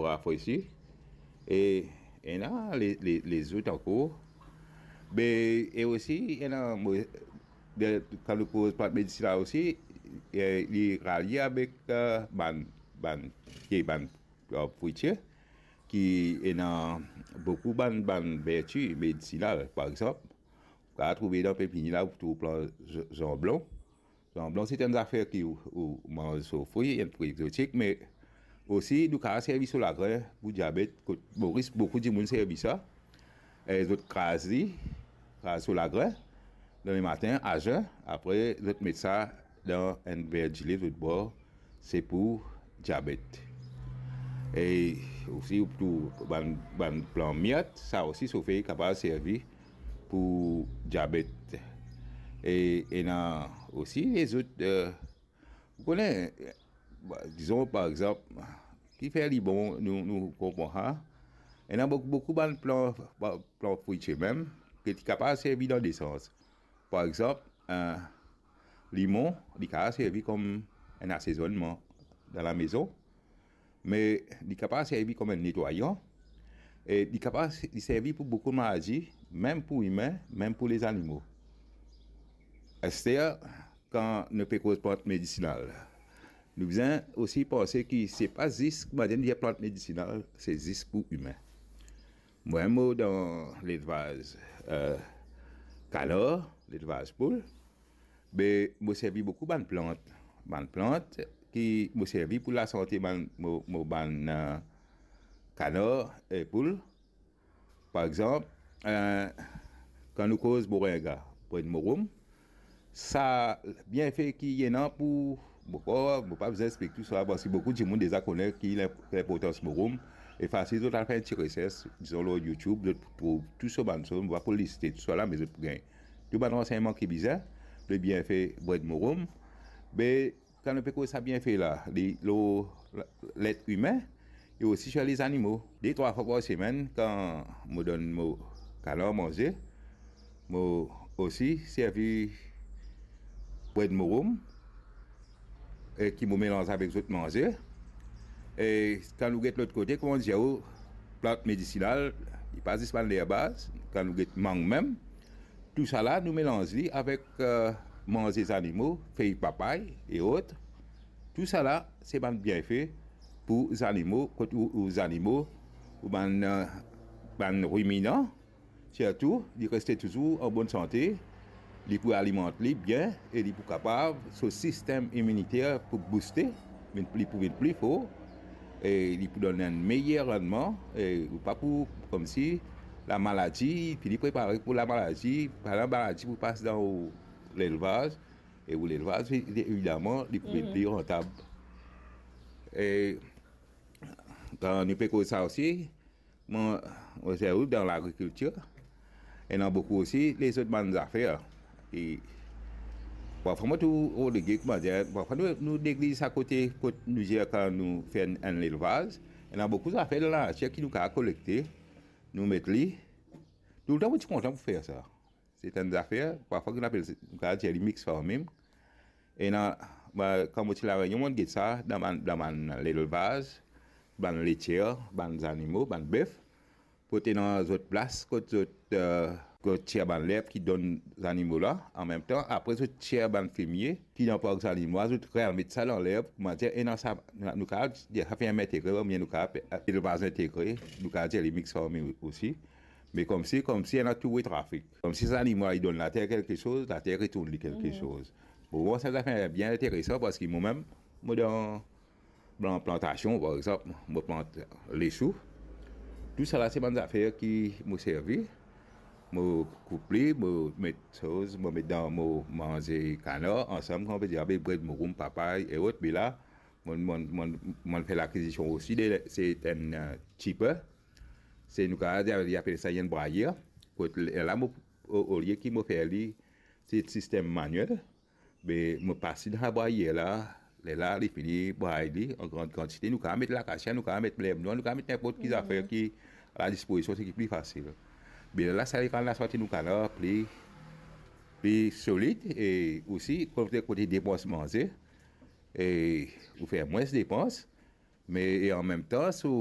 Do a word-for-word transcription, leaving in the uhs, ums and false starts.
rafresi. E ena le, le, lezot ankor. Be, e osi, ena, mo, de, kan nou koz plant medisinal osi, e, li ralie avek, eh, bann, bann, ki bann, eh, fwitie, ki ena boukou bann, bann verti medisinal. Par exanp, ou kapav trouve dan pepinier la, ou trouv plant z-, zanblon. Zanblon, se enn zafer ki ou, ou manz so fri, enn fri egzotik, me osi nou kapav servi so lagrin pou diabet, kot Moris, boukou dimoun servi sa. E zot kraz li, kraz so lagrin, dan lematin, a zen, apre zot met sa dan enn ver dile, zot bwar, se pou diabet. E osi, ou trouv bann, bann plan mirt, sa osi, so fey kapav servi pou diabet. E ena osi lezot, eh, ou kone, eh, dizon, par exanp, ki fer li bon, nou, nou konpran sa. Ena boukou, boukou bann plan, plan fwitie mem, ki ti kapav servi dan de sans. Par exanp, eh, limon, li kapav servi kom enn asezonnman dan lamezon, me li kapav servi kom enn netwayan, e li kapav s-, li servi pou boukou maladi, mem pou imin, mem pou lezanimo. Aster, kan nou pe koz plant medisinal, nou bizin osi panse ki se pa zis, koumadir nou dir plant medisinal, se zis pou imin. Mwa, mo dan lelvaz, eh, kanar, lelvaz poul, be mo servi boukou bann plant. Bann plant ki mo servi pou lasante bann, mo, mo bann, eh, kanar e poul. Par exanp, eh, kan nou koz moringa, bred morom, sa bienfe ki ena pou mo kor, mo pa bizin explik tou sa, parski boukou dimoun deza kone ki linp-, linportans morom, e fasil zot al fer enn ti resers, dizon lor YouTube, zot pou trouv tou so bann soz, mo pa pou liste tou sa la, me zot pou gagn tou bann ransegnman ki bizin, le bienfe bred morom. Be, kan nou pe koz sa bienfe la, li lor let imin, e osi sir lezanimo. De trwa fwa par semenn, kan mo donn mo kanar manze, mo osi servi bred morom, e ki mo melanz avek zot manze. E kan nou get lot kote, kouma dir ou, plant medisinal, li pa zis bann lerbaz, kan nou get mang mem, tousala nou melanz li avek, eh, manze zanimo, fey papay e ot. Tousala se bann bienfe pou zanimo, kot ou, ou zanimo, ou bann, eh, bann riminan, sirtou, li reste touzour an bonn sante, li pou alimant li bien e li pou kapav, so sistem iminiter pou bouste, vinn pli, pou vinn pli for, e li pou donn enn meyer randman, e ou pa pou, koumsi, lamaladi, fini prepare pou lamaladi, pa lamaladi pou pas dan ou lelvaz, e ou lelvaz, evidaman, li pou vinn pli rantab. E kan nou pe koz sa osi, mo, mo servi dan lagrikiltir, ena boukou osi lezot bann zafer. E parfwa mo trouv relege, koumadir, parfwa nou, nou negliz sa kote, kot nou dir kan nou fer enn, enn lelvaz, ena boukou zafer dan lanatir ki nou kapav kolekte, nou met li. Toultan mo ti kontan pou fer sa. Se enn zafer, parfwa ki nou apel, nou kapav dir li mix farming. Ena, ba, kan mo ti La Réunion, mo get sa dan bann, dan bann lelvaz, bann letier, bann zanimo, bann bef, pou ena zot plas kot zot, eh, kot tir bann lerb ki donn zanimo la, anmemtan, apre zot tir bann fimie ki dan park zanimo la, zot remet sa dan lerb, koumadir, ena sa, nou, nou kapav dir sa ferm entegre, oubien nou kapav apel lelvaz entegre, nou kapav dir li mix farming osi. Me koumsi, koumsi ena tou trafik. Koumsi zanimo la, li donn later kelke soz, later retourn li kelke soz. Bon, bon, sa, sa fer bien interesan, parski mo mem, mo dan plan-, plantasion, par exanp, mo plant lesou. Tousala se bann zafer ki mo servi. Mo koup li, mo met soz, mo met dan mo manze kanar, ansam, kouma pe dir, avek bred morom, papay e ot, me la, mo, mo, mo, mo fer lakizision osi de, se enn, eh, chipper. Se nou kapav dir, li apel sa enn brayer. Kot la, mo, o, olie ki mo fer li, se sistem maniel, be mo pas li dan sa brayer la, lerla li fini bray li an gran kantite, nou kapav met lakasia, nou kapav met lerb nwar, nou kapav met ninport ki zafer ki a ladispozision, seki pli fasil. Be lerla sa, li rann lasante nou kanar pli, pli solid, e osi, kote, kote depans manze, e ou fer mwins depans, me, e anmemtan, so